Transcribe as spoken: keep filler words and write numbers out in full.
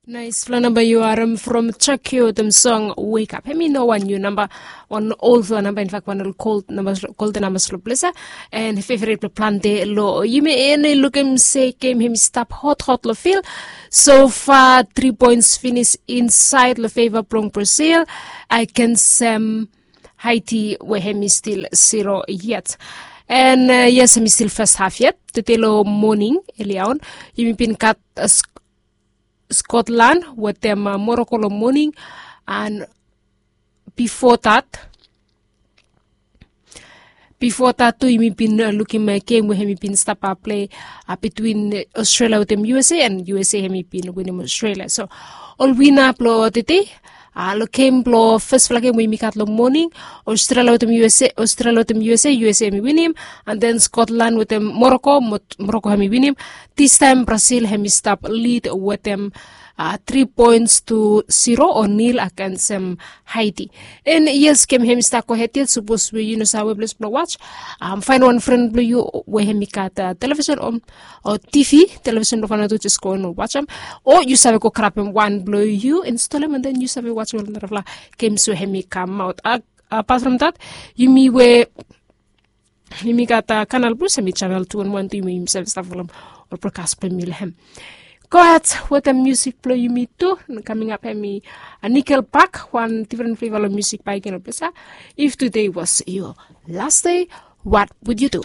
Naisfala namba yu harem from Chakio wetem song Wake Up. Hemi no wan niu namba, wan olfala namba, infak wan ol gold namba, golden namba long ples ya. And favorit blong plante long yumi. And lukim se gem hemi stap hot hot long fil. So far tri points finis insaed long feva blong Brazil agensem Haiti we hemi stil zero yet. And yes, hemi stil fes haf yet. Tede long moning elia on yumi bin gat Scotland wetem Morocco long moning. And bifo dat, bifo dat tu yumi bin lukim gem we hemi bin stap plei bitwin Australia wetem U S A, and U S A hemi bin winim Australia. So ol wina blong tede long gem blong fesfala gem we yumi gat long moning, Australia wetem U S A, Australia wetem U S A, U S A hemi winim. And then Scotland wetem Morocco, Morocco hemi winim. Distaem Brazil hemi stap lid wetem tri points tu zero o nil agensem Haiti. And yes, gem hemi stap gohed yet. Sapos we yu no save we ples blong was, faenem wan fren blong yu we hemi gat televisen o TV, televisen blong Vanuatu, jes go and wasem. O yu save go grabem wan blong yu, instolem, and then yu save wasem ol narafala gems we hemi kamaot. Apat from dat, yumi we yumi gat Canal Plus, hemi channel two one one tu, yumi save stap folem ol brokas blong yumi long hem. Gohed wetem musik blong yumi tu. Kaming ap hemi Nickelback, wan difren fleva long musik bae i gen long ples ya. If today was your last day, what would you do?